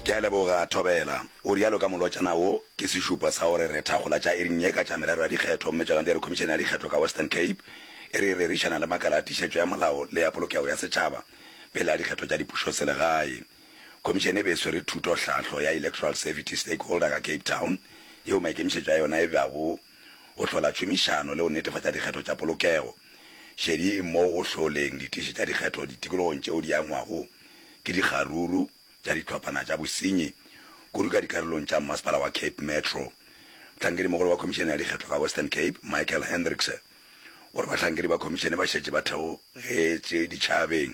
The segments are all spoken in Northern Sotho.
Ke a leboga, Thobela. O realo ka molotšana wo ke sešupo sa gore re thakgola tša iring ye ka tša merero ya dikgetho gomme tšona di re Khomišene ya Dikgetho ka Western Cape e re e rerišana le makala a tiišetšo ya molao le ya polokego ya setšhaba pele ga dikgetho tša dipušoselegae. Khomišene e be e swere thutohlahlo ya Electoral Safety Stakeholder ka Cape Town yeo maikemišetšo a yona e bago go hlola tšhomišano le go netefatša dikgetho tša polokego. Šedi e mo go hloleng ditiši tša dikgetho ditikologong tšeo di angwago ke dikgaruru tša dihlophana tša bosenyi, kudu ka dikarolong tša Mmasepala wa Cape Metro. Mohlankedimogolo wa Khomišene ya Dikgetho ka Western Cape, Michael Hendrickse, o re bahlankedi ba khomišene ba šetše ba theogetše ditšhabeng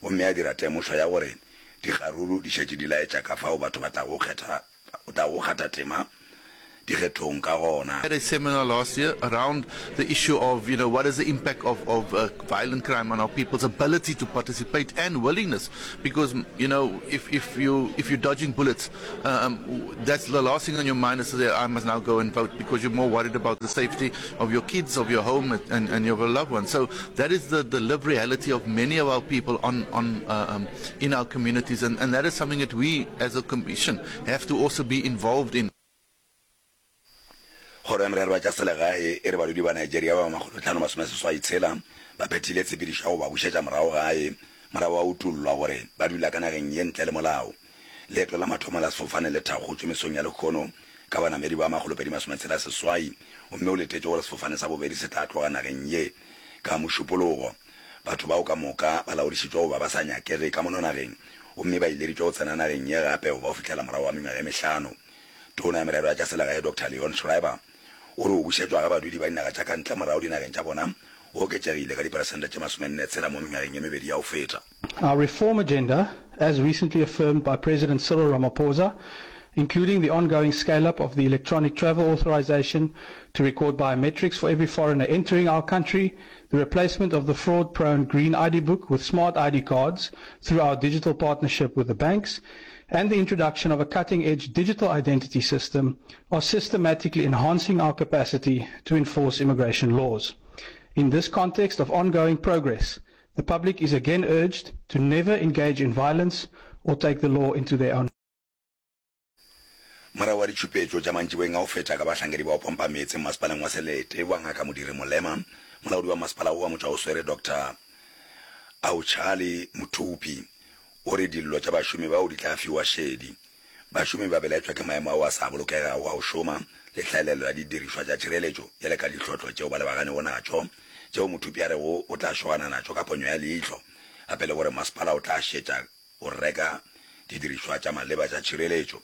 gomme a dira temošo ya gore dikgaruru di šetše di laetša ka fao batho ba tlago kgetha o tlago kgatha tema dikgethong ka gona. Had a seminar last year around the issue of, you know, what is the impact of, of uh, violent crime on our people's ability to participate and willingness. Because, you know, if, if, you, if you're dodging bullets, um, that's the last thing on your mind is to say, I must now go and vote, because you're more worried about the safety of your kids, of your home, and, and your loved ones. So that is the, the lived reality of many of our people on, on, uh, um, in our communities, and, and that is something that we as a commission have to also be involved in. Kgoro ya Merero ya tša Selegae e re badudi ba Nigeria ba 586 ba phethile tshepedišo ya go ba bušetša morago gae morago ga go utollwa gore ba dula ka nageng ye ntle le molao. Leeto la mathomo la sefofane le thakgotšwe mesong ya lehono ka banamedi ba 268 gomme go letetšwe gore sefofane sa bobedi se tla tloga nageng ye ka Mošupologo. Batho bao ka moka ba laodišitšwe go ba ba sa nyakege ka mono nageng gomme ba ileditšwe go tsena nageng ye gape go ba go fihlela morago ga mengwaga e mehlano. Tona ya Merero ya tša Selegae Doctor Leon Schreiber o re go bušetšwa ga badudi ba dinaga tša ka ntle morago dinageng tša bona go oketšegile ka diperesente tše masomenne tshela mo mengwageng ye mebedi ya go feta. Our reform agenda, as recently affirmed by President Cyril Ramaphosa, including the ongoing scale-up of the electronic travel authorization to record biometrics for every foreigner entering our country, the replacement of the fraud-prone green ID book with smart ID cards through our digital partnership with the banks, and the introduction of a cutting-edge digital identity system are systematically enhancing our capacity to enforce immigration laws. In this context of ongoing progress, the public is again urged to never engage in violence or take the law into their own Morago ga ditšhupetšo tša mantšiboeng a go feta ka bahlankedi ba go pompa meetse mmasepaleng wa Selete wa Ngaka Modiri Molema, molaodi wa masepala wo wa Motšwaoswere Doctor Auchali Mothupi o re dillo tša bašomi bao di tla fiwa šedi. Bašomi ba belaetšwa ke maemo ao a sa bolokegago a go šoma le hlaelelo ya didirišwa tša tšhireletšo bjale ka dihlotlo tšeo ba lebaganego natšo tšeo Mothupi a rego o tla šogana natšo ka ponyo ya leihlo gape le gore masepala o tla šetša go reka didirišwa tša maleba tša tšhireletšo.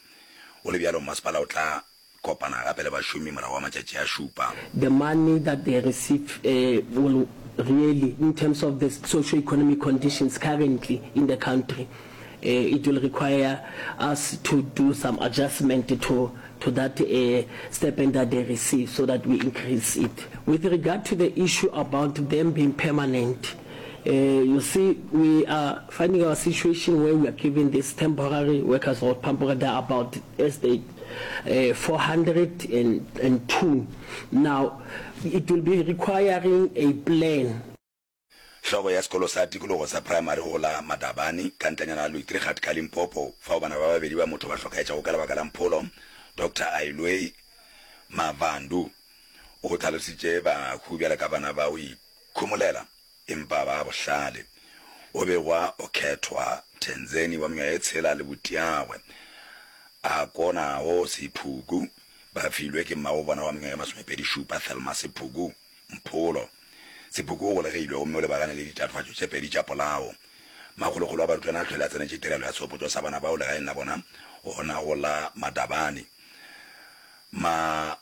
Go le bjalo, mmasepala o tla kopana gape le bašomi morago ga matšatši a šupa. The money that they receive will really, in terms of the socio-economic conditions currently in the country, it will require us to do some adjustment to to that stipend that they receive so that we increase it. With regard to the issue about them being permanent, You see, we are finding our situation where we are giving these temporary workers or temporary, they are about, as they, 402. Now, it will be requiring a plan. Hlogo ya sekolo sa tikologo sa praemari go la Madabane, ka ntlenyana ga Luitrigat ka Limpopo, fao bana ba babedi ba motho ba hlokaetšego ka lebaka la mpholo, Doctor Ailwei Mavandu o hlalositše bahu bjalo ka bana ba go ikhomolela Empa ba bohlale. O begwa o khethwa Tenzeni wa mengwaga e tshela le butiagwe a konago Sephuku ba filwe ke mmago bona wa mengwaga e masomepedi-šupa Thelma Sephuku Mpholo. Sephuku o golegilwe gomme o lebagane le ditatofatšo tše pedi tša polao. Makgolokgolo a barutwana a hlwele a tsenetše tirelo ya sehopotšo sa bana bao legaeng la bona gona go la Madabane. Ma.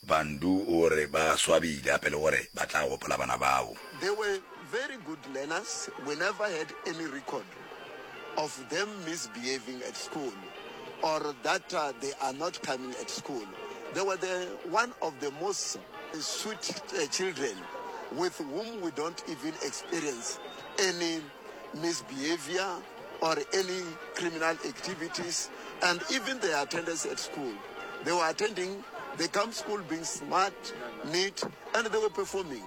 Bandu o re ba swabile gape le gore ba tla gopola bana bao. They were very good learners, we never had any record of them misbehaving at school or that they are not coming at school. They were the one of the most sweet children with whom we don't even experience any misbehavior or any criminal activities and even their attendance at school. They were attending, they come school being smart, neat and they were performing.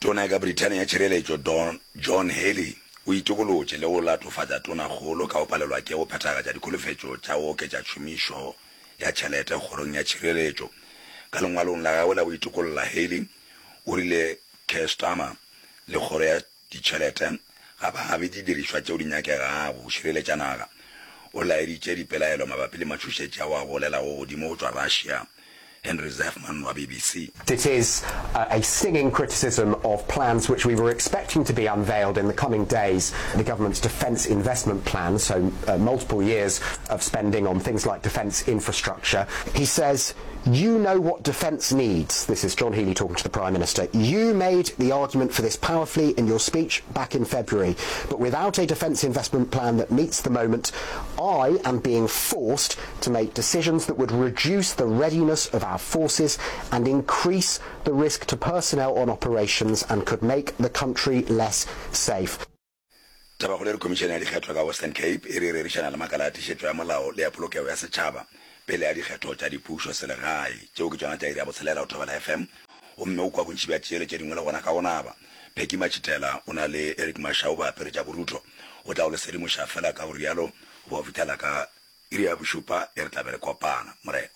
Tona ya ka Brithania ya Tšhireletšo, Don John Healey, o itokolotše le go latofatša Tonakgolo ka go palelwa ke go phethagatša dikholofetšo tša go oketša tšhomišo ya tšhelete kgorong ya tšhireletšo. Ka lengwalong la gagwe la go itokolla, Haley o rile Keir Starmer le kgoro ya ditšhelete ga ba abe didirišwa tšeo di nyakegago go šireletša naga. O laeditše dipelaelo mabapi le matšhošetši ao a golelago godimo go tšwa Russia. Henry Zeffman wa BBC. It is a stinging criticism of plans which we were expecting to be unveiled in the coming days, the government's defence investment plan, so multiple years of spending on things like defence infrastructure. He says You know what defence needs. This is John Healey talking to the Prime Minister. You made the argument for this powerfully in your speech back in February, but without a defence investment plan that meets the moment, I am being forced to make decisions that would reduce the readiness of our forces and increase the risk to personnel on operations and could make the country less safe. Tabakgolo e re Khomišene ya Dikgetho ka Western Cape e re e rerišana le makala a tiišetšo ya molao le ya polokego ya setšhaba pele ga dikgetho tša dipušo selegae. Tšeo ke tšona tša iri ya botshelela go Thobela FM gomme o kwa bontši bja tše le tše dingwe le gona ka go naba. Peggy Matšhitela o na le Eric Mashau ba apere tša borutho. O tla go le sedimoša fela ka go rialo go ba go fihlela ka iri ya bošupa e re tla be re kopana. Morena.